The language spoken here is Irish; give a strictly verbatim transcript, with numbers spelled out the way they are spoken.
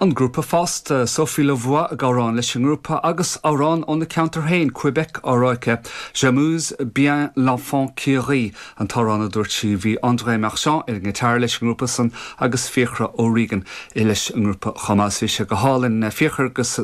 An grúpa fosta Sophie Lavoie ag amhrán leis an ngrúpa agus amhrán óna ceantar féin Quebec á rá aici J'amuse bien l'enfant qui rit an t-amhrán a dúirt sí bhí André Marchand ar an ngiotár leis an ngrúpa san agus Fiachra O'Regan leis an ngrúpa chumas bhí sé go hálainn Fiachra agus